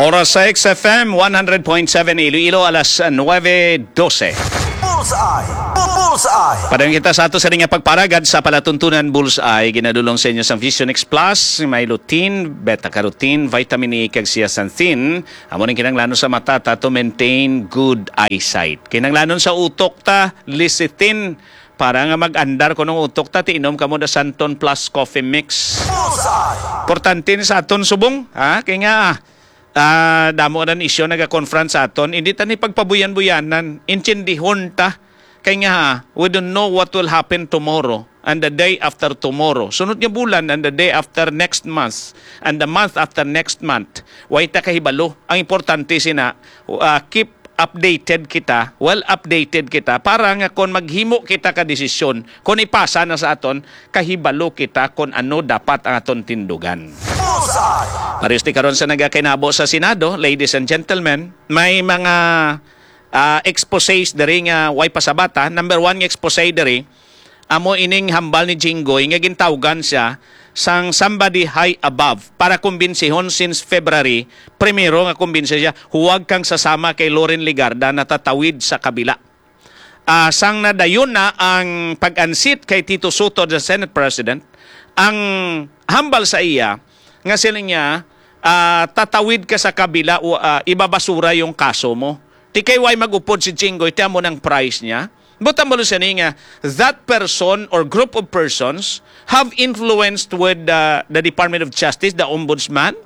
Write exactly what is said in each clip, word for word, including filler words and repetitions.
Oras sa X F M one hundred point seven Iloilo, alas nuebe dose. Bullseye! Bu- Bullseye! Padayong kita sa ato sa nga pagparagad sa palatuntunan Bullseye. Ginadulong sa inyo sang Vision X Plus, may lutein, beta-carotene, vitamin E, kag zeaxanthin. Amo ning kinahanglanon sa mata ta to maintain good eyesight. Kinahanglanon sa utok ta, lecithin, para nga mag-andar kuno ang utok ta, ti inom kamo the Santon Plus Coffee Mix. Bullseye! Importante ni sa aton subong, ha? Kay nga, ah, damo na isyu naga-confront sa aton. Hindi ta ni pagpabuyan-buyanan, intindihon ta. Kay nga, ha, we don't know what will happen tomorrow and the day after tomorrow. Sunod nga bulan and the day after next month and the month after next month. Way ta kahibalo. Ang importante sina, ah, keep updated kita, well updated kita, para nga kon maghimo kita ka desisyon, kon ipasa na sa aton, kahibalo kita kon ano dapat ang aton tindugan. Bullseye! Pareho ti karon sa nagakinabo sa Senado, ladies and gentlemen, may mga, ah, exposés diri nga way pasabata. Number one nga exposé diri, amo ining hambal ni Jinggoy nga gintawgan siya sang somebody high above para kumbinsihon since February primero nga kumbinsi siya, "Huwag kang sasama kay Loren Legarda, natatawid sa kabila." Ah, sang nadayon na ang pag-unseat kay Tito Sotto, the Senate President, ang hambal sa iya nga sila niya, ah, "Tatawid ka sa kabila, o, ah, ibabasura yung kaso mo." Ti kay way mag-upod si Jinggoy, ti amo nang price niya. Butang balo siya ni nga, that person or group of persons have influenced with the, the Department of Justice, the Ombudsman,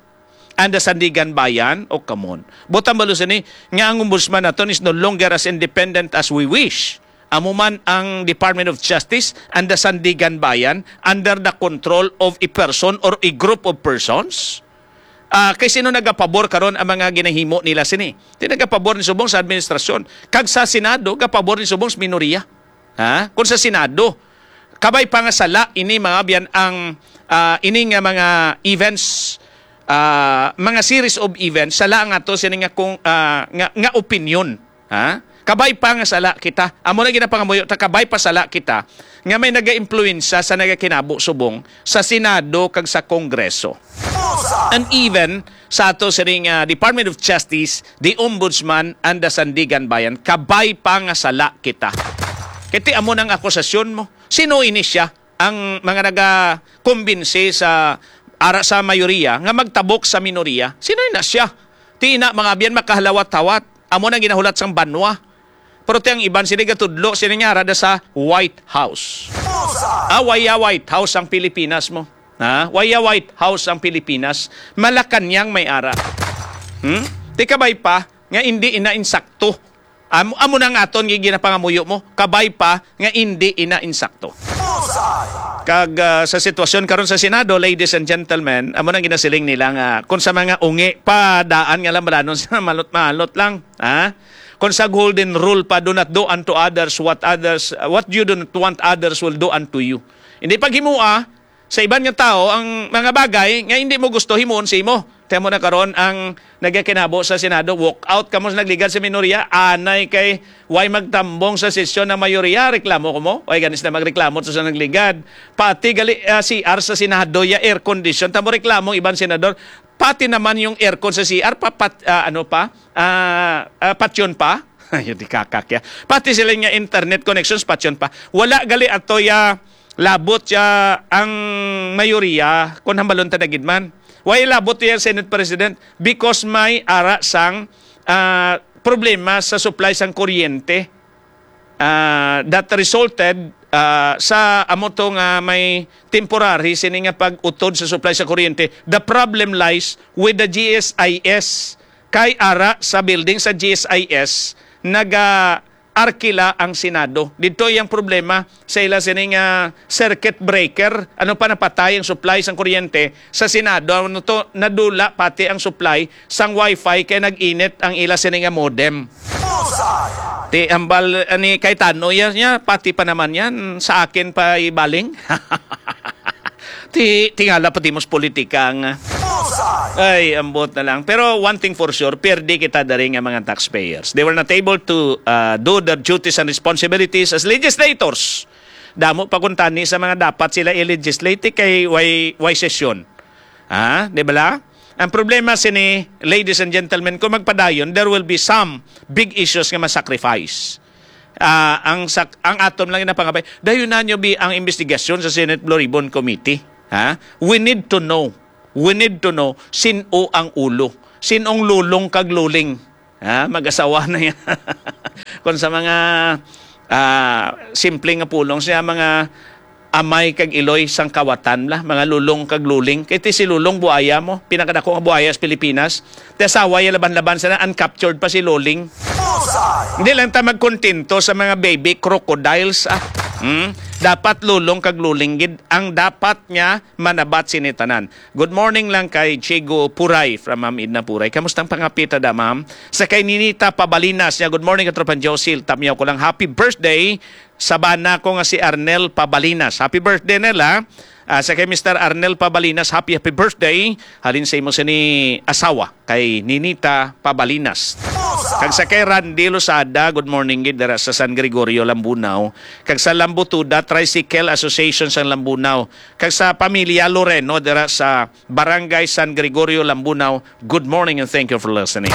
and the Sandiganbayan. Oh, come on. Butang balo siya ni nga ang Ombudsman naton is no longer as independent as we wish. Amo man ang Department of Justice and the Sandiganbayan under the control of a person or a group of persons. Ah, kay sino nagapabor karon ang mga ginahimo nila sini? Ti nagapabor ni subong sa administrasyon. Kag sa Senado, gapabor ni subong sa minoriya. Ha? Kung sa Senado, kabay pa nga sala ini, mga abyan, ang, ah, ini nga mga events, ah, mga series of events, sala nga to sini nga kung, ah, nga, nga opinion. Ha? Kabay pa nga sala kita. Amo na ginapangamuyo ta, kabay pa sala kita nga may nagaimpluwensya sa nagakinabo subong sa Senado kag sa Kongreso. And even sa ato sining, ah, Department of Justice, the Ombudsman, and the Sandiganbayan, kabay pa nga sala kita. Kay ti amo nang akusasyon mo. Sino ini siya? Ang mga nagakumbinsi sa ara sa mayoriya nga magtabok sa minoriya. Sino na siya? Ti ina, mga abyan, makahalawat-hawat. Amo nang ginahulat sang banwa. Pero ti ang iban sila gatudlo, sila nga ara da sa White House. Ah, waya White House ang Pilipinas mo. Ha? Waya White House ang Pilipinas. Malacañang may ara. Hmm? Ti kabay pa nga hindi ina insakto. Amo, amo na nga aton gi-, ginapangamuyo mo. Kabay pa nga hindi ina insakto. Kag, ah, sa sitwasyon karon sa Senado, ladies and gentlemen, amo nang ginasiling nila nga kung sa mga ungi pa, daan nga lang balanon sa malot-malot lang, ha? Kung sa golden rule pa, "Do not do unto others what others, what you do not want others will do unto you." Hindi paghimua sa iban nga tawo ang mga bagay nga hindi mo gusto himuon sa imo. Kaya mo na karon ang nagakinabo sa Senado, walk out kamo sa nagligad sa minorya, anay kay way magtambong sa sesyon ang mayoriya, reklamo ko mo. Way ganis na magreklamo to sa nagligad. Pati gali, ah, C R sa Senado, ya air condition. Tamo reklamo ang iban senador. Pati naman yung aircon sa C R, pa, pat-, ah, ano pa? Ah, ah, patyon pa? Ayun, di kakakya. Pati sila nga internet connections, patyon pa. Wala gali ato ya labot ya ang mayoriya, kung hambalon ta na gid man. Why labot ya Senate President? Because may ara sang, ah, problema sa supply sang kuryente, ah, that resulted, ah, sa amo to nga may temporary sini nga pag-utod sa supply sa kuryente. The problem lies with the G S I S. Kay ara sa building sa G S I S, naga arkila ang Senado. Didto iyang problema sa ila sini nga circuit breaker. Ano pa, napatay ang supply sang kuryente sa Senado. Ano to, nadula pati ang supply sang wifi kay nag-init ang ila sini nga modem. Bullseye! Ti ambal, ani, kay tano yan, niya, pati pa naman yan, sa akin pa ibaling. Ti, tingala pa di mos politika nga. Bullseye! Ay, ambot na lang. Pero one thing for sure, pierde kita dari nga mga taxpayers. They were not able to, uh, do their duties and responsibilities as legislators. Damo pa kuntani sa mga dapat sila i-legislate kay way, way sesyon. Ha? Di ba la? Ang problema sini, ladies and gentlemen, kung magpadayon, there will be some big issues nga ma-sacrifice. Ah, ang sak-, ang aton lang napangabay, dayon na nyo bi ang investigasyon sa Senate Blue Ribbon Committee. Ha? We need to know. We need to know sin-o ang ulo. Sin-ong lulong kag luling. Ha? Mag-asawa na yan. Kung sa mga, ah, simple nga pulong siya, mga amay kag iloy sang kawatan la, mga lulong kag luling. Kay ti si lulong buaya mo, pinakadako nga buaya sa Pilipinas. Ti asawa ya laban-laban sana, uncaptured pa si luling. Bullseye! Hindi lang ta magkontento sa mga baby crocodiles, ah. Hmm? Dapat lulong kag luling gid ang dapat nga manabat sini tanan. Good morning lang kay Chigo Puray from Ma'am Edna Puray. Kamusta ang pangapita da, ma'am? Sa kay Ninita Pabalinas niya, good morning, Katropang Josil. Tamyaw ko lang, happy birthday sa bana ko nga si Arnel Pabalinas. Happy birthday, Nel, ha? Ah, sa kay Mister Arnel Pabalinas, happy, happy birthday. Halin sa imo sini asawa, kay Ninita Pabalinas. Kag sa kay Randy Losada, good morning gid dira sa San Gregorio, Lambunao. Kag sa Lambutuda Tricycle Association sa Lambunao. Kag sa pamilya Loreno dira sa Barangay San Gregorio, Lambunao, good morning and thank you for listening.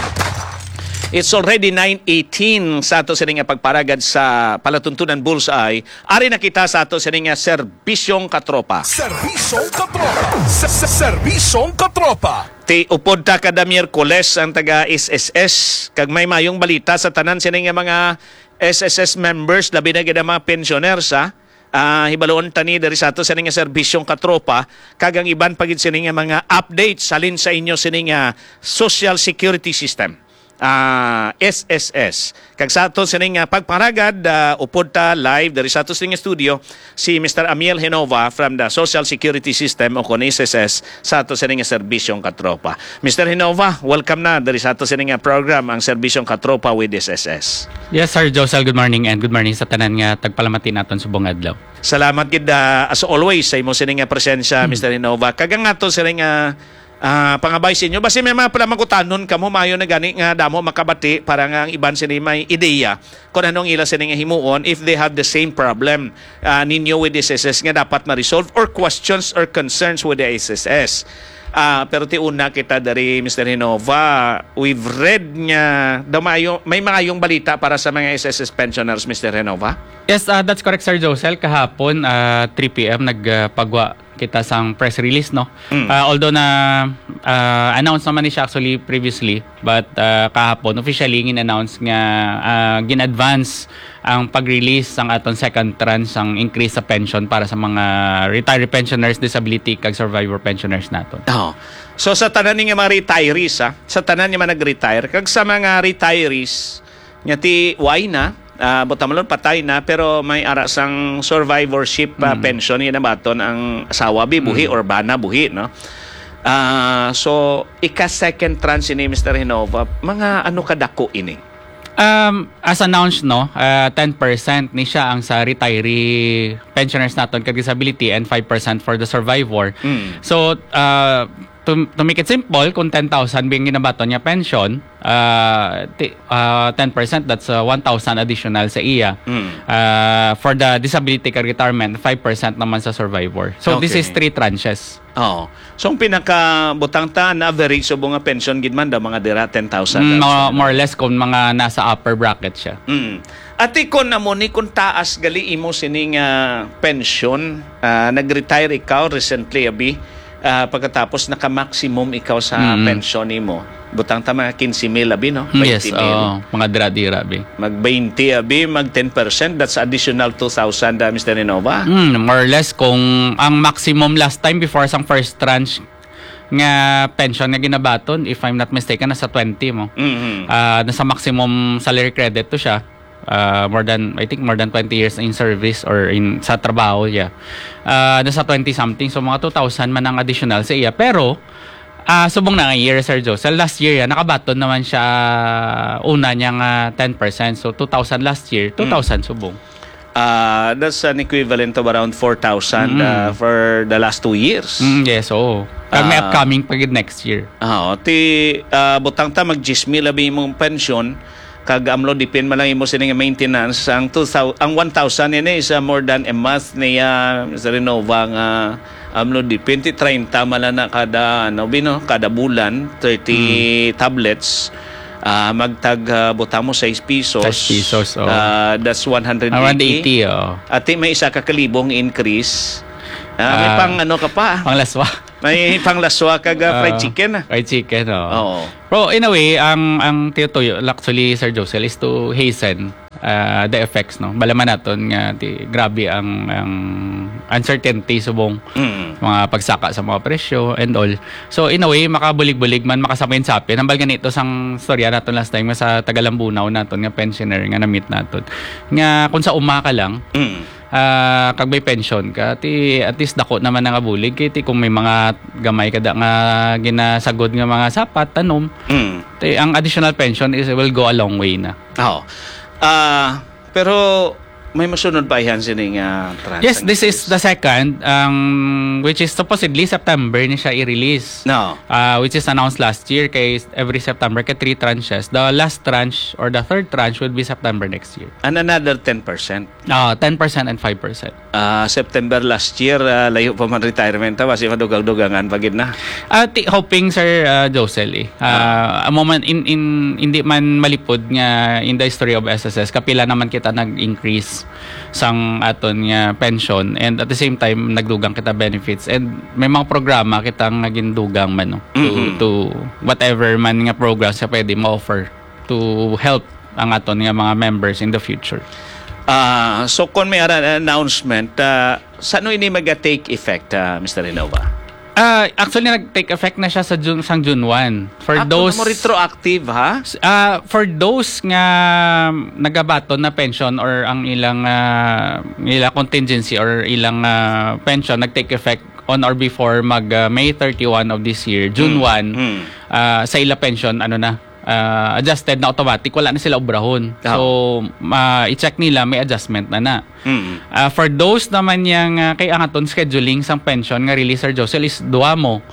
It's already nine eighteen sa ato sini nga pagparagad sa Palatuntunan Bullseye. Ari na kita sa ato sini nga Serbisyong Katropa. Serbisyong Katropa. Se- se- Serbisyong Katropa. Ti upod ta kada Miyerkules ang taga S S S, kag may mayong balita sa tanan sini nga mga S S S members, labi na gid ang mga pensioners, ha. Ah, hibaluon ta ni diri sa ato sini nga Serbisyong Katropa, kag ang iban pa gid sini nga mga updates halin sa inyo sini nga social security system, ah, S S S. Kag sa ato sini nga pagpangaragad, ah, upod ta live diri sa ato sini nga studio si Mister Amiel Genova from the Social Security System o kon S S S sa ato sini nga Serbisyong Katropa. Mister Genova, welcome na diri sa ato sini nga program, ang Serbisyong Katropa with S S S. Yes, Sir Josel, good morning, and good morning sa tanan nga tagpalamati naton subong adlaw. Salamat gid, ah, as always, sa imo sini nga presensya, Hmm. Mister Genova. Kag ang ato sini nga, ah, pangabay sa inyo, basi may mga pala mangutanon kamo, maayo na gani nga damo makabati para nga ang iban sini may ideya kung ano ang ila sini nga himuon if they have the same problem, ah, ninyo with S S S nga dapat ma-resolve, or questions or concerns with the S S S. Ah, pero ti una kita dari, Mister Genova, we've read nga daw maayo, may maayong balita para sa mga S S S pensioners, Mister Genova. Yes, ah, that's correct, Sir Josel. Kahapon, ah, three P M, nagpagwa kita sang press release, no? Mm. Ah, although na, ah, announce naman ni siya actually previously, but, ah, kahapon, officially, gin-announce nga, ah, gin-advance ang pag-release sang aton second tranche sang increase sa pension para sa mga retiree pensioners, disability, kag survivor pensioners naton. Oh. So, sa tanan ni nga mga retirees, ha? Sa tanan ni mga nag-retire, kag sa mga retirees, nga ti, why na? Ah, buta malon, patay na, pero may ara sang survivorship, ah, Mm. pension, yun ang baton ang asawa, bi, buhi, Mm. or bana, buhi, no? Ah, so, ika-second tranche ini, Mister Genova, mga ano kadako ini? Um, as announced, no, ah, ten percent ni siya ang sa retiree pensioners naton kag disability and five percent for the survivor. Mm. So, ah, to, to make it simple, kung ten thousand bing ginabaton niya pension, ah, ti-, ah, ten percent, that's, ah, one thousand additional sa iya. Mm. Ah, for the disability kag retirement, five percent naman sa survivor. So, this Okay. is three tranches. Oo. So, ang pinakabutang ta, na average subong nga pension gid man daw, mga dira, ten thousand Mm, lang mga, sa more or less, kung mga nasa upper bracket siya. Mm. Ati, kung amo ni, kung taas gali imo sini nga pension, ah, nag-retire ikaw recently, abi, ah, pagkatapos naka-maximum ikaw sa Mm. pension nimo, butang ta mga quince mil, abi, no? Mm, yes, Twenty mil. Oo. Mga dira-dira, abi. Mag twenty, abi, mag ten percent, that's additional two thousand, ah, Mister Genova. Mm, more or less, kung ang maximum last time before sang first tranche nga pension nga ginabaton, if I'm not mistaken, nasa twenty mo. Mm-hmm. Ah, nasa maximum salary credit to siya. Ah, more than, I think, more than twenty years in service or in, sa trabaho, yeah. Ah, nasa twenty something. So, mga two thousand man ang additional sa iya. Pero, ah, subong na nga year, Sir Joe. Sa last year, yan, nakabaton naman siya una niya nga ten percent. So, two thousand last year, Mm. two thousand subong. Ah, that's an equivalent of around four thousand, Mm. ah, for the last two years. Mm, yes, oo. Kag may Ah. upcoming pa gid next year. Ah, oo. Ti, ah, butang ta, mag diyes mil abi imong pensyon, kag amlo dipin man lang imo sini nga maintenance. Ang two thousand, ang one thousand ini is, ah, more than a month niya, Mister Renova, nga Amlo di, twenty, treinta man lang na kada, ano, bino, kada bulan, thirty Hmm. tablets, ah, magtag, ah, butang mo sais pisos. Sais pisos, oo. Ah, that's one hundred eighty. Ah, one hundred eighty, oo. Ati may isa ka kalibong increase. Ah, may Ah, pang ano ka pa? Panglaswa. May panglaswa kag, ah, fried Ah, chicken, ah. Fried chicken, oo. Oo. Pero in a way, ang, ang tinutuyo, actually, Sir Josel, is to hasten, ah, the effects, no? Balaman naton nga ti-, grabe ang, ang uncertainty subong Mm. mga pagsaka sa mga presyo and all. So, in a way, makabulig-bulig man, makasapin-sapin. Hambal ganito sang storya naton last time nga sa taga Lambunao naton nga pensioner nga na-meet naton. Nga kung sa uma ka lang, Mm. ah, kag may pension ka, ti, at least dako naman nga bulig. Kay ti kung may mga gamay ka da nga ginasagod nga mga sapat, tanom, Mm. ti, ang additional pension is, will go a long way na. Oo. Ah, pero may masunod pa yan sini nga tranche Yes, this is increase. the second, ang, which is supposedly September ni siya i-release. No. Ah, which is announced last year kay every September kay three tranches. The last tranche or the third tranche would be September next year. And another ten percent. Ah, ten percent and five percent. Ah, September last year, ah, layo pa man retirement, ah, basi madugang-dugangan pa gid na. Ah, ti-, hoping, Sir, ah, Josel, eh. Ah, Ah. amo man, in, in, hindi man malipod nga in the history of S S S, kapila naman kita nag-increase sang aton nga pension, and at the same time, nagdugang kita benefits, and may mga programa kita nga gindugang man, no, to, Mm-hmm. to whatever man nga programs nga pwede ma-offer to help ang aton nga mga members in the future. Ah, so kung may ara-, announcement, ah, sa ano ini maga-take effect, ah, Mister Renova? Ah, actually, nag-take effect na siya sa June, sang June one. For Ah, those kung mo retroactive, ha? S-, ah, for those nga nagabaton na pension or ang ilang, ah, ila contingency or ilang, ah, pension nag-take effect on or before mag, ah, May thirty-one of this year, June Hmm. one, Hmm. ah, sa ila pension, ano na, ah, adjusted na automatic, wala na sila obrahon. Ah. So, ma-, i-check nila, may adjustment na na. Mm. Ah, for those naman yang, ah, kay ang aton scheduling sang pension nga release, Sir Josel, is duha mo.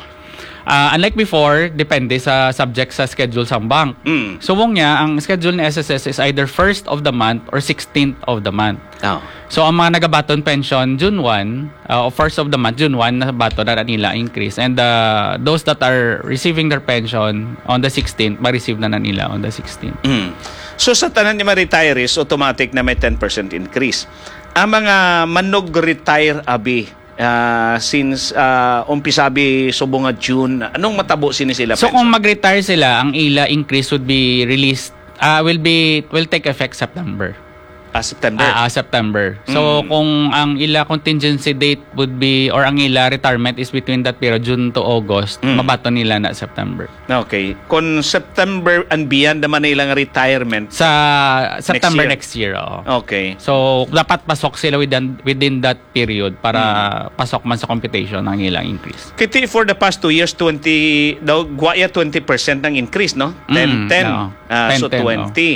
Ah, unlike before, depende sa subject sa schedule sang bank. Mm. So, mong niya, ang schedule ni S S S is either first of the month or sixteenth of the month. Oh. So, ang mga nagabaton pension, June one, ah, o first of the month, June one, nabaton na nila increase. And, ah, those that are receiving their pension on the sixteenth, ma-receive na, na nila on the sixteenth. Mm. So, sa tanan ni mga retirees, automatic na may ten percent increase. Ang mga manug-retire, abi, ah, since, ah, umpisabi subong nga June, anong matabo sini sila, So, kung pension? mag-retire sila, ang ila increase would be released, ah, will be, will take effect September. Ah, September. Ah, ah, September. So, Mm. kung ang ila contingency date would be, or ang ila retirement is between that period, June to August, Mm. mabaton nila na September. Okay. Kung September and beyond naman na ilang retirement Sa September next year. next year, oo. Okay. So, dapat pasok sila within, within that period para Mm. pasok man sa computation ang ilang increase. Kiti for the past two years, twenty, daw, gwaya twenty percent ang increase, no? Mm, Ten ten. oo. Ah, so, Ten ten, oh. twenty.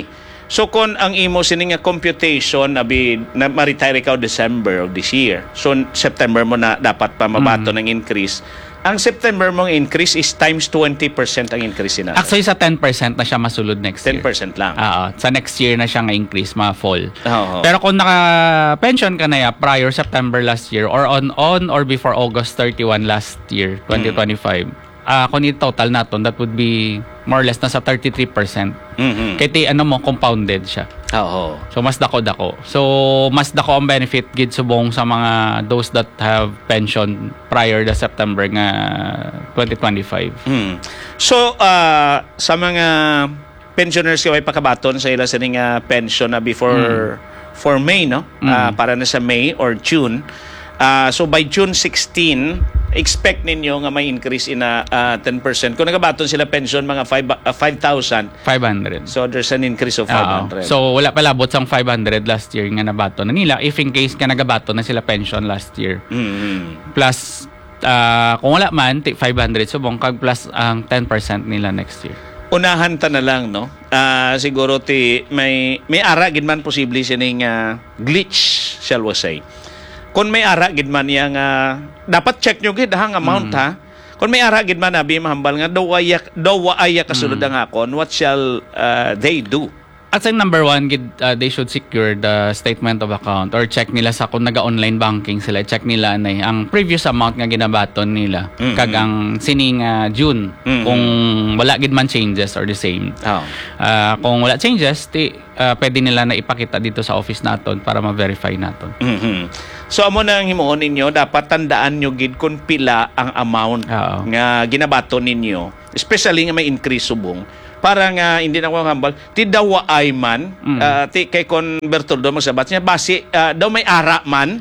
So, kung ang imo sini nga computation, abi, na ma-retire ikaw December of this year, so, September mo na dapat pa mabaton Mm. ang increase. Ang September mong increase is times twenty percent ang increase na. Actually, sa ten percent na siya masulod next year. Ten percent lang. Oo. Sa next year na siya nga increase, ma-fall. Oo. Pero kung naka-pension ka na ya prior September last year or on, on or before August thirty-one last year, Mm. twenty twenty-five, ah, kung i-total naton, that would be more or less na sa thirty-three percent. Mhm. Kay ti, ano mo, compounded siya. Oo. So, mas dako-dako. So, mas dako ang benefit gid subong sa mga those that have pension prior the September nga twenty twenty-five. Mm. So, ah, sa mga pensioners nga may pakabaton sa ila sini nga pension na before, Mm. for May, no? Mm. Ah, para na sa May or June. Ah, so by June sixteen, expect ninyo nga may increase in a, ah, ten percent. Kung nagabaton sila pension, mga five, ah, five thousand. Five hundred. So there's an increase of Oo. five hundred. So wala pa labot sang five hundred last year nga nabaton na nila if in case nga nagabaton na sila pension last year. Mm. Plus, ah, kung wala man, ti five hundred subong kag plus ang ten percent nila next year. Unahan ta na lang, no? Ah, siguro ti may, may ara gid man posible sining, ah, glitch, shall we say. Kung may ara gid man iya nga, dapat check nyo gid, ha, ang amount, Mm. ha? Kung may ara gid man, abi, mahambal nga, daw wa iya, daw wa iya kasulod Mm. ang akon, what shall, ah, they do? At sa number one, gid, ah, they should secure the statement of account or check nila sa kung naga-online banking sila, check nila anay ang previous amount nga ginabaton nila, Mhm. kag ang sining, ah, June, Mhm. kung wala gid man changes or the same. Oh. Ah, kung wala changes, ti, ah, pwede nila na ipakita dito sa office naton para ma-verify naton. Mhm. So, amo na ang himuon ninyo, dapat tandaan nyo gid kung pila ang amount Oo. nga ginabaton ninyo, especially nga may increase subong, para nga hindi na ko hambal, ti daw waay man, Mm. ah, ti kay kon Bertoldo magsabat niya, basi, ah, daw may ara man.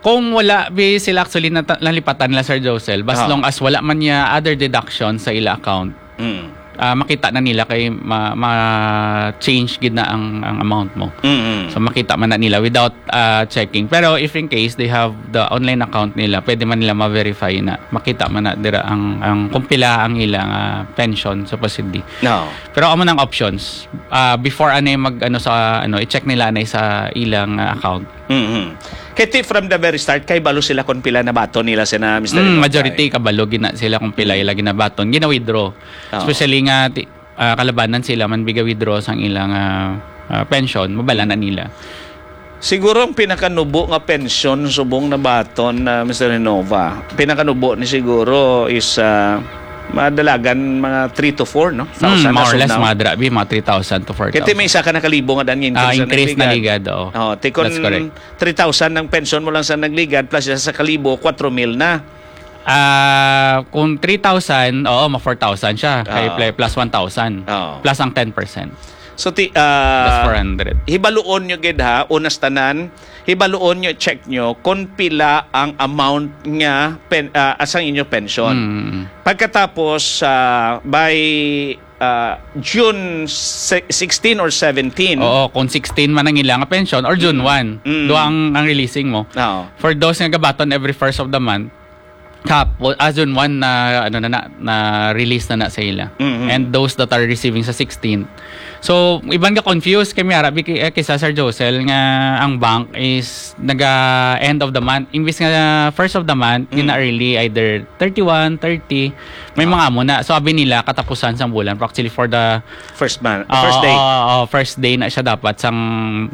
Kung wala, bi sila actually nata-, nalipatan nila, Sir Josel, as Ah. long as wala man niya other deduction sa ila account, Mm. ah, makita na nila kay ma-, ma-change gid na ang, ang amount mo. Mm-mm. So, makita man na nila without, ah, checking. Pero if in case they have the online account nila, pwede man nila ma-verify na makita man na dira ang, ang kung pila ang ilang, ah, pension supposedly. No. Pero amo nang options. Ah, before anay mag, ano, sa, ano, i-check nila anay sa ilang, ah, account. Mm-hmm. Kay ti from the very start, kay balo sila kung pila nabaton nila sina Mister Mm, Inotoy. Majority kabalo gina sila kung pila Mm. ila ginabaton, gina-withdraw. Oo. Especially nga ti-, ah, kalabanan sila man biga withdraw sang ilang, ah, ah, pension, mabala na nila. Siguro ang pinakanubo nga pensyon subong nabaton, ah, Mister Renova, pinakanubo ni siguro is, ah, madalagan mga three to four, no? Mm, thousand more or na less, sum-, mga dra-, bi, mga three thousand to four thousand. Kaya may isa ka na kalibo nga daan nga Ah, increase na increase na nagligad. Ligad, oo. Oh, ti kon That's correct. Three thousand ang pensyon mo lang sa nagligad, plus isa sa kalibo, kwatro mil na. Ah, kung three thousand, oo, ma four thousand siya. Kay Oo. pla-, plus one thousand. Oo. Plus ang ten percent. So, ti-, ah, Plus four hundred. Hibaluon nyo gid, ha, unas tanan, hibaluon nyo, check nyo kung pila ang amount nga pen-, ah, asang inyo pension. Mm. Pagkatapos, ah, by, ah, June se-, sixteen or seventeen. Oo, kung sixteen man ang ilang pension or June Mm. one, Mm. duha ang, ang releasing mo. Oo. For those nga gabaton every first of the month, Kap, well, as in one na, ano na, na, na release na na sa ila. Mhm. And those that are receiving sa sixteenth. So, iban ka confused kay Miara, bi-, eh, kisa Sir Josel nga ang bank is naga end of the month. Imbis nga first of the month, Mm. gina-early, either thirty-one, thirty, may Ah. mga amo na. So, abi nila, katapusan sang bulan. Pero actually, for the First month, Oo, first day. Oo, oo, first day na siya dapat sang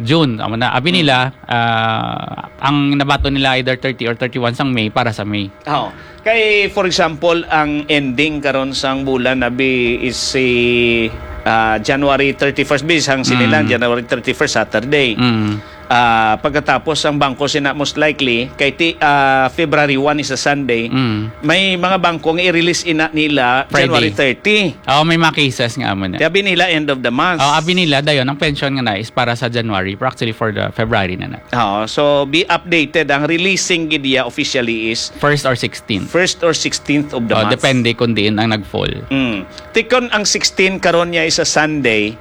June. Amo na, abi Mm. nila, ah, ang nabaton nila either thirty or thirty-one sang May para sa May. Oo. Kay, for example, ang ending karon sang bulan, abi, is si, ah, January thirty-first, bis, ang sinilang Mm. January thirty-first, Saturday. Mm. Ah, pagkatapos ang bangko sina, most likely, kay ti-, ah, February one is a Sunday, Mm. may mga bangko nga i-release ina nila Friday. January thirty. Oo, may mga cases nga amo na. Kaya abi nila end of the month. Oo, abi nila, dayon, ang pension nga na is para sa January, pero actually for the February na na. Oo, so be updated. Ang releasing gid iya officially is First or sixteenth. First or sixteenth of the Oh, month. Depende kung diin ang nag-fall. Mm. Ti kon ang sixteen karon niya is a Sunday,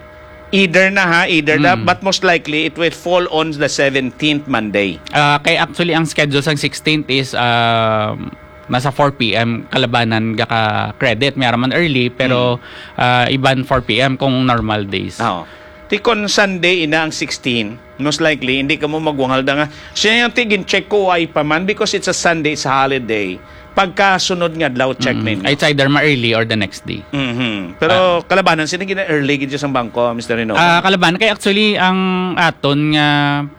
either na ha, either na, Mm. but most likely it will fall on the seventeenth, Monday. Ah, kay actually ang schedule sang sixteenth is, um, nasa four P M kalabanan gaka-credit. May ara man early, pero, Mm. ah, iban four P M kung normal days. Oo. Ti kon Sunday ina ang sixteen, most likely, hindi ka mo magwangal da nga, siya yung tigin check ko, ay pa man, because it's a Sunday, it's a holiday. Pagkasunod nga adlaw, check Mm. ninyo. It's either ma-early or the next day. Mhm. Pero Ah. kalabanan, sino gina-early gid sa bangko, Mister Rino? Ah, kalabanan. Kay actually, ang aton nga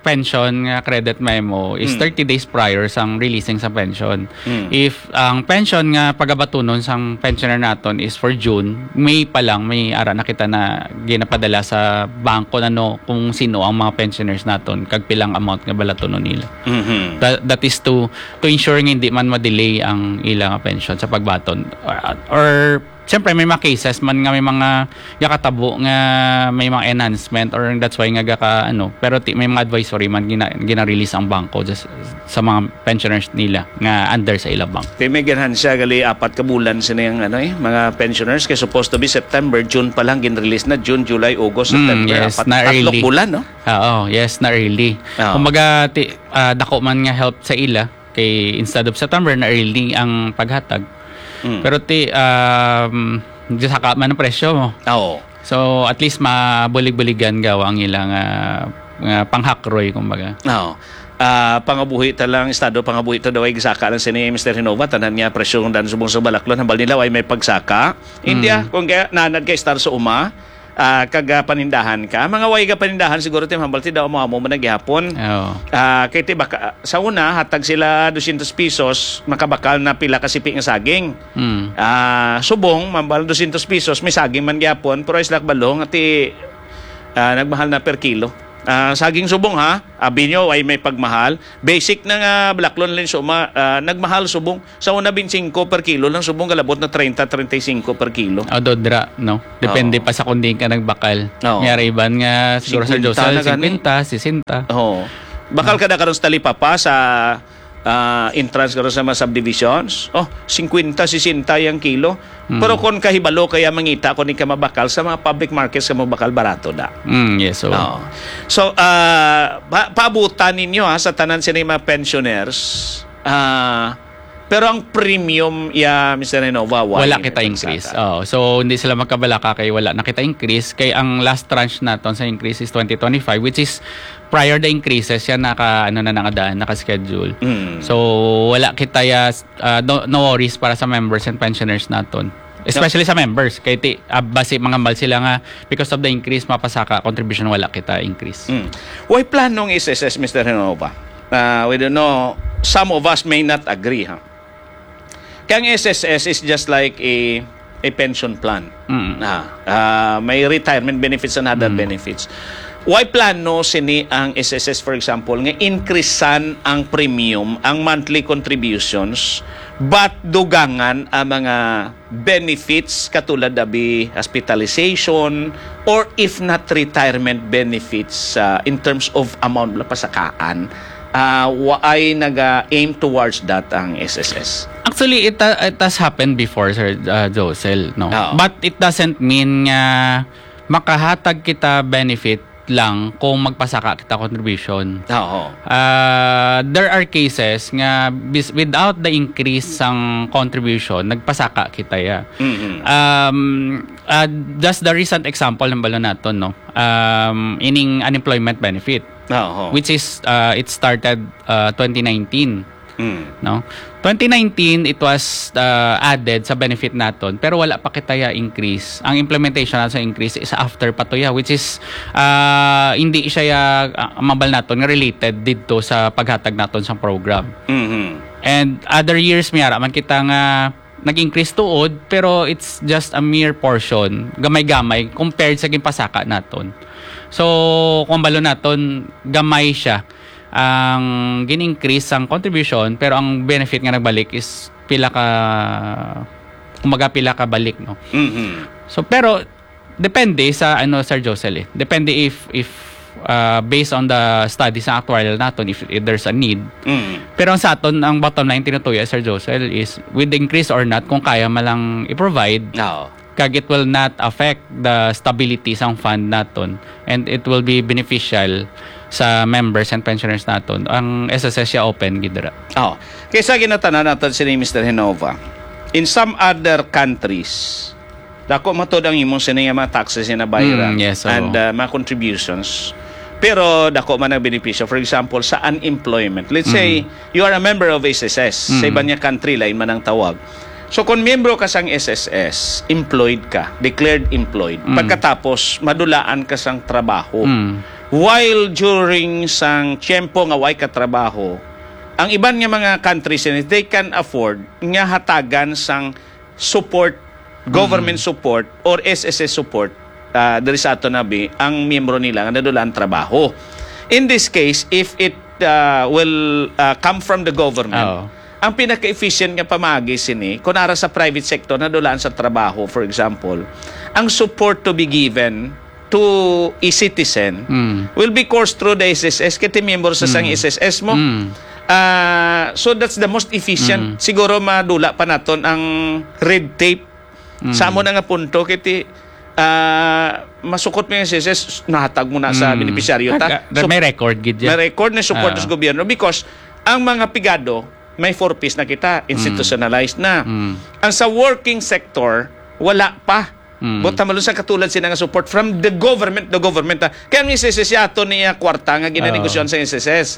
pension nga credit memo is Mm. thirty days prior sang releasing sa pension. Mm. If ang pension nga pagabatunon sang pensioner naton is for June, May pa lang, may ara na kita na ginapadala sa bangko na, no, kung sino ang mga pensioners naton, kag pilang amount nga balatunon nila. Mhm. That, that is to, to ensure nga hindi man ma-delay ang ila nga pension sa pagbaton. Or, or, siyempre, may mga cases man nga may mga gakatabo nga may mga enhancement, or that's why nga gaka, ano, pero ti-, may mga advisory man gina-, gina-release ang bangko just sa mga pensioners nila nga under sa ila bank. Kay may ganahan siya, gali apat ka bulan sini ang, ano, eh, mga pensioners, kay supposed to be September, June pa lang gin-release na, June, July, August, Mm, September, yes, apat, na tatlong early. Bulan, no? Oo, yes, na early. Oo. Kumbaga, ti-, ah, dako man nga help sa ila, kay instead of September, na early ang paghatag. Mm. Pero ti, um, saka man ang presyo mo. Oo. So, at least mabulig-buligan gawa ang ilang, ah, nga panghakroy, kumbaga. Oo. Ah, pangabuhi ta lang, estado pangabuhi ta daw ay gisaka lang sini, Mister Hinova, tanan nga presyo ng dan subong sa balaklon, hambal nila ay may pagsaka. India, Mm. kung kaya nanad kay Star sa uma, Ah, kag, ah, panindahan ka. Mga way ka panindahan, siguro, ti, mahambal ti daw mo, amo man na gihapon. Oo. Ah, kay ti baka, sa una, hatag sila dosyentos pesos, makabakal na pila ka sipi nga saging. Mm. Ah, subong, mahambal dosyentos pesos, may saging man gihapon, pero isla kabalo nga ti, ah, nagmahal na per kilo. Ah, saging subong, ha? Abi nyo, ay may pagmahal. Basic na nga balaklon, linsuma, ah, nagmahal subong. Sa una, twenty-five per kilo lang, subong kalabot na treinta, treinta y cinco per kilo. O, dodra, no? Depende Oo. pa sa kung diin ka nagbakal. Oo. May ara iban nga, siguro, Sir Josel, na gani. Singkwenta, sesenta. Oo. Bakal ka na karon sa talipapa, sa, ah, entrance karon sa mga subdivisions. Oh, singkwenta, sesenta yang kilo. Mm. Pero kung kahibalo kaya mangita, kung di ka mabakal sa mga public markets, ka mabakal, barato na. Mm, yes, so. Oo. So, ah, pa-, paabutan ninyo, ha, sa tanan sini mga pensioners. Ah, pero ang premium, ya, Mister Renova, wala Wala kita increase. Nagsaka. Oo. So, hindi sila magkabalaka kay wala na kita increase. Kay ang last tranche naton sa increase is twenty twenty-five, which is prior the increases, yan naka, ano na, nakadaan, naka-schedule. Mm. So, wala kita ya, ah, no, no worries para sa members and pensioners naton. Especially sa members. Kay ti, ah, basi mangambal sila nga because of the increase, mapasaka contribution, wala kita increase. Mm. Way plano ang S S S, Mister Renova? Ah, we don't know. Some of us may not agree, ha? Kaya ang S S S is just like a, a pension plan. Mm. Ah, ah, may retirement benefits and other Mm. benefits. Why plano sini ang S S S, for example, nga increasean ang premium, ang monthly contributions, but dugangan ang mga benefits katulad abi hospitalization or if not retirement benefits, ah, in terms of amount na pasakaan? Ah, waay naga-aim towards that ang S S S? Actually, it, uh, it has happened before, Sir, uh, Josel, no? Oo. But it doesn't mean nga makahatag kita benefit lang kung magpasaka kita contribution. Oo. Uh, there are cases nga bis-, without the increase sang contribution, nagpasaka kita ya. Mhm. Um, uh, just the recent example ng balo naton, no? Um, ining unemployment benefit. Oo. Which is, uh, it started, uh, twenty nineteen. Mm. No? Twenty nineteen, it was, uh, added sa benefit naton, pero wala pa kita ya increase. Ang implementation na sa increase is after pa to ya, which is, uh, hindi siya ya, uh, mabal naton nga related didto sa paghatag naton sa program. Mhm. And other years, may ara man kita nga nag-increase tuod, pero it's just a mere portion, gamay-gamay, compared sa ginpasaka naton. So, kung balo naton, gamay siya ang gin-increase sang contribution, pero ang benefit nga nagbalik is pila ka, kumbaga, pila ka balik, no? Mhm. So, pero depende sa, ano, Sir Josel, eh. Depende if, if, uh, based on the studies sa actuarial naton, if, if there's a need. Mm. Pero ang sa aton, ang bottom line tinutuyo, Sir Josel, is with increase or not, kung kaya man lang i-provide, Oo. kag it will not affect the stability sang fund naton, and it will be beneficial sa members and pensioners naton. Ang S S S siya open gid dira. Oh, kaysa ginatanan naton sini, Mister Genova, in some other countries, dako matod ang imong sini nga mga taxes nga nabayaran Mm, yes, oo. and, uh, mga contributions. Pero dako man ang benepisyo. For example, sa unemployment. Let's say, Mm. you are a member of S S S. Sa Mm. iban nga country, lain man ang tawag. So, kung miyembro ka sang S S S, employed ka, declared employed. Mm. Pagkatapos, madulaan ka sang trabaho. Mm. While during sang tiyempo nga way ka trabaho, ang iban nga mga countries, they can afford nga hatagan sang support, government Mm. support, or S S S support, ah, diri sa aton abi, ang miyembro nila nga nadulaan trabaho. In this case, if it, ah, will, ah, come from the government, Oo. ang pinaka-efficient nga pamaagi sini, kung ara sa private sector, nadulaan sa trabaho, for example, ang support to be given to a citizen Mm. will be coursed through the S S S, kay ti miyembro sa sang Mm. S S S mo. Mm. Ah, so that's the most efficient. Mm. Siguro madula pa naton ang red tape. Mm. Sa amo na nga punto, kay ti, ah, masukot mo yung S S S, nahatag mo na sa Mm. benepisyaryo ta. Nag-, So, may record gid yan. may record na support Ah. sa gobyerno because ang mga pigado, may four Ps na kita, Mm. institutionalized na. Mm. Ang sa working sector, wala pa. Mm. But tama sa katulad sila nga support from the government, the government, ah. Kaya ang S S S siya ato niya kwarta nga ginanegosyon Oo. sa S S S.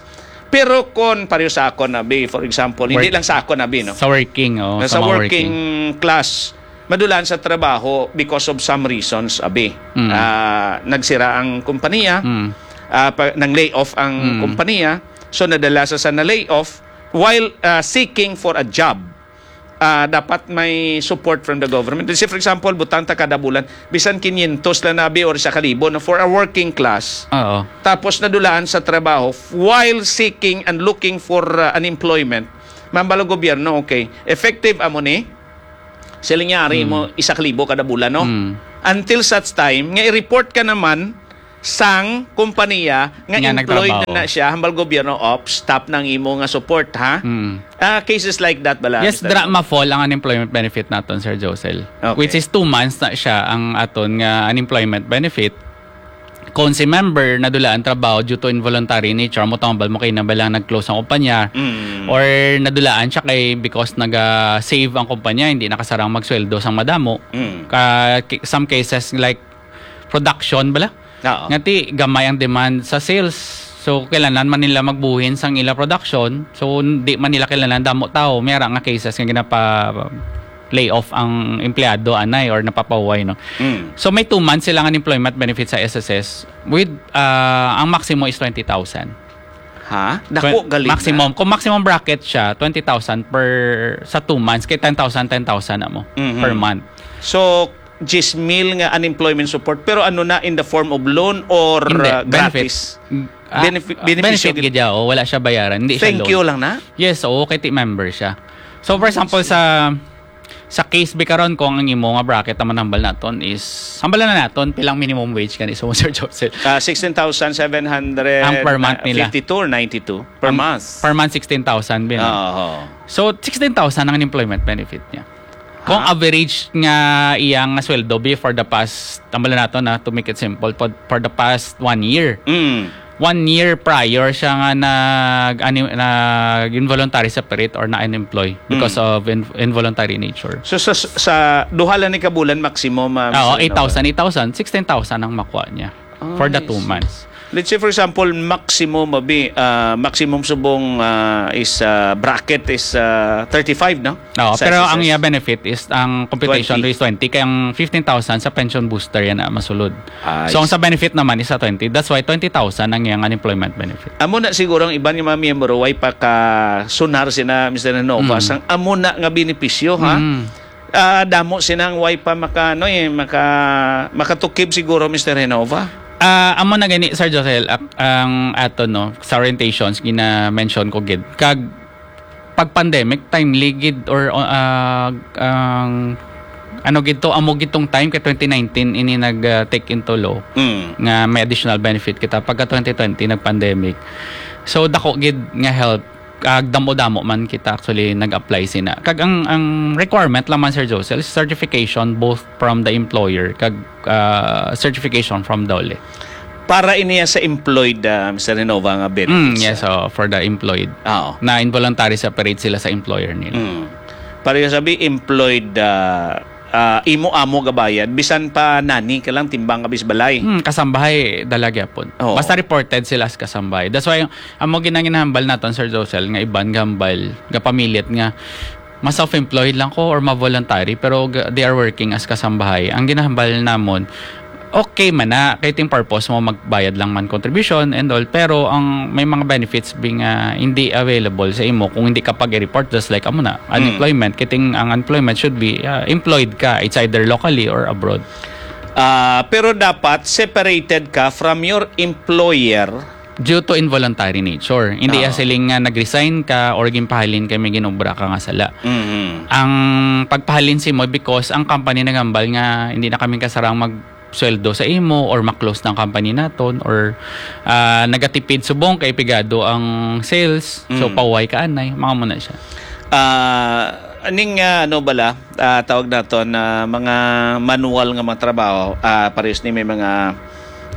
Pero kung pareho sa ako na, bi, for example, hindi Work-, lang sa ako na, bi, no? sa working, oh, Na sa sa mga working working. class, madulaan sa trabaho because of some reasons, abi. Mm. Ah, nagsira ang kompanya, Mm. ah, pa, nang lay off ang Mm. kompanya, so nadala sa, sa na lay off while, ah, seeking for a job. Ah, dapat may support from the government. Let's say, for example, butang ta kada bulan, bisan kinyentos lang, abi, or sa kalibo, no, for a working class. Oo. Tapos nadulaan sa trabaho while seeking and looking for, ah, unemployment. Mambalo gobyerno, okay, effective amo ni, sila nga ari Mm. mo isa ka libo kada bulan, no? Mm. Until such time nga i-report ka naman sang kompanya nga Nga employed nagtrabaho. na, na siya, hambal gobyerno, "Op, stop na ang imo nga support, ha?" Mm. Ah, cases like that bala, Yes, Mister dra Ro? ma-fall ang unemployment benefit naton, Sir Josel. Okay. Which is two months na siya ang aton nga unemployment benefit. Kung si member nadulaan trabaho due to involuntary nature, mo tambal mo kay na ba lang nag-close ang kumpanya, Mm. or nadulaan siya kay because naga-save ang kumpanya, hindi nakasarang magsweldo sang madamo. Mm. Ka-, ki-, some cases like production bala. Oo. Nga ti gamay ang demand sa sales. So, kailangan man nila magbuhin sang ila production. So, di man nila kailangan damo tao. May ara nga cases nga ginapa lay off ang empleyado anay or napapahuway, no? Mm. So, may two months silang unemployment benefit sa S S S with, ah, ang maximum is twenty thousand. Ha? Dako Twen-, gali na. maximum. Kung maximum bracket siya, twenty thousand per, sa two months, kay ten thousand, ten thousand na mo Mhm. per month. So, diyes mil nga unemployment support, pero ano na, in the form of loan or, Hindi, uh, benefit. gratis? Mm, ah, Benefi-, ah, benepisyo benefit gid. gid, oh, wala siya bayaran, hindi siya Thank loan. you lang na? Yes, oo, kay ti member siya. So, for example, sa, sa case bi karon, kung ang imo nga bracket naman hambal naton is, hambal na naton, pilang minimum wage gani, so, Sir Joseph? Ah, sixteen thousand seven hundred Ang per month nila. fifty-two or ninety-two per Ang month. per month, sixteen thousand bin. Oo. So, sixteen thousand ang unemployment benefit niya. Kung Ha? average nga iyang sweldo be for the past, tambala nato na, to make it simple, for, for the past one year. Mm. One year prior siya nga nag-, ani-, nag-involuntary separate or na-unemploy because Mm. of in-, involuntary nature. So, sa, sa duha lang ni kabulan, maximum, ah, Oo, Mister Nova? eight thousand, eight thousand, sixteen thousand ang makuha niya Ah, for the I two see. months. Let's say, for example, maximum, abi, ah, maximum subong, ah, is, ah, bracket is, ah, thirty-five, no? Oo, Sa pero ang S S S. iya benefit is ang computation Twenty. is twenty, kaya ang fifteen thousand sa pension booster yan na masulod. Ah, So, ang I sa benefit naman is sa twenty. That's why twenty thousand ang iyang unemployment benefit. Amo na siguro ang iban nga mga miyembro, way pa ka sunar sina, Mister Renova, Mm. sang amo na nga benepisyo, ha? Mm. Ah, damo sinang way pa maka, ano, eh, maka-, makatukib siguro, Mister Renova. Ah, amo na gani, Sir Josel, ak-, ang ato, no, sa orientations, gina-mention ko gid. Kag pag pandemic, timely gid or, ah, ang, ano gid to, amo gid tong time kay twenty nineteen ini nag, ah, take into law Mm. nga may additional benefit kita pagka twenty twenty nag-pandemic. So, dako gid nga help, kag damo-damo man kita actually nag-apply sina. Kag ang, ang requirement lang man, Sir Josel, is certification both from the employer kag, ah, certification from DOLE. Para iniya sa employed, ah, Mister Renova, nga Mm, benefits, yes, ah. so for the employed. Oo. Na involuntary separate sila sa employer nila. Mm. Para yung sabi, employed, ah, ah, imo-amo gabayad, bisan pa nani ka lang timbang ka bis balay. Hmm, kasambahay dala gyapon. Oo. Basta reported sila sa kasambahay. That's why, amo ginanginahambal naton, Sir Josel, nga iban gambal, gapamilit nga, mas self-employed lang ko or ma-voluntary, pero ga-, they are working as kasambahay. Ang ginahambal namon, okay man na, kay ting purpose mo, magbayad lang man contribution and all, pero ang may mga benefits bi nga hindi available sa imo kung hindi ka pag-report, just like amo na, Mm. unemployment, kay ting ang unemployment should be, ah, employed ka, it's either locally or abroad. Ah, pero dapat separated ka from your employer. Due to involuntary nature. Hindi Oo. ya siling nga nag-resign ka or ginpahalin kay may ginobra ka nga sala. Mhm. Ang pagpahalin si mo because ang company nagambal nga hindi na kami kasarang mag-, sweldo sa imo or ma-close na ang company naton or, ah, nagatipid subong kay pigado ang sales. So, Mm. pauway ka anay. Mga mo na siya. Ah, aning, ah, ano bala, ah, tawag naton na mga manual nga mga trabaho, ah, parehas ni may mga,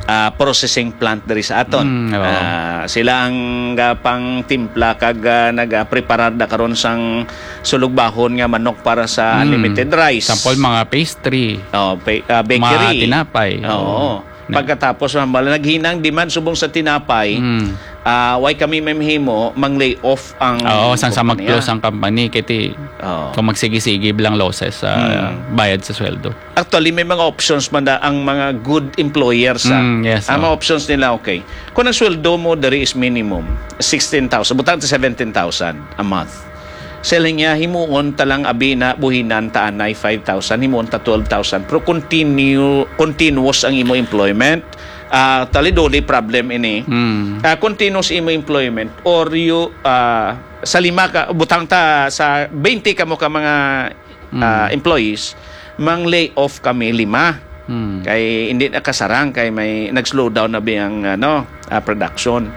ah, processing plant diri sa aton. Mm, oo. Ah, sila ang gapang timpla kag, ah, nagapreparar na karon sang sulugbahon nga manok para sa Mm. unlimited rice. Sample, mga pastry. Oh, pa-, ah, bakery. Mga tinapay. Oo. Oo. Na- Pagkatapos, mambala, naghinang demand subong sa tinapay. Mm. Ah, why kami may mahimo mang lay off ang Oo, sang sa kompanya? Mag-close ang company, kay ti, Oo. kung magsigi-sige lang losses sa Hmm. bayad sa sweldo. Actually, may mga options man na ang mga good employers. Ah. Mm, yes, Ang oh. mga options nila, okay. Kung ang sweldo mo diri is minimum, sixteen thousand, butang ta seventeen thousand a month. Sa ila niya, himuon ta lang abi na buhinan ta anay five thousand, himuon ta twelve thousand. Pero continue, continuous ang imo employment. Ah, actually, duli problem ini. Mm. Ah, continuous imo employment or you, ah, sa lima ka, butang ta sa twenty ka mo ka mga ah, employees, mang lay off kami lima. Mm. Kay hindi nakasarang, kay may nag-slow down na bi ang, ano, ah, production.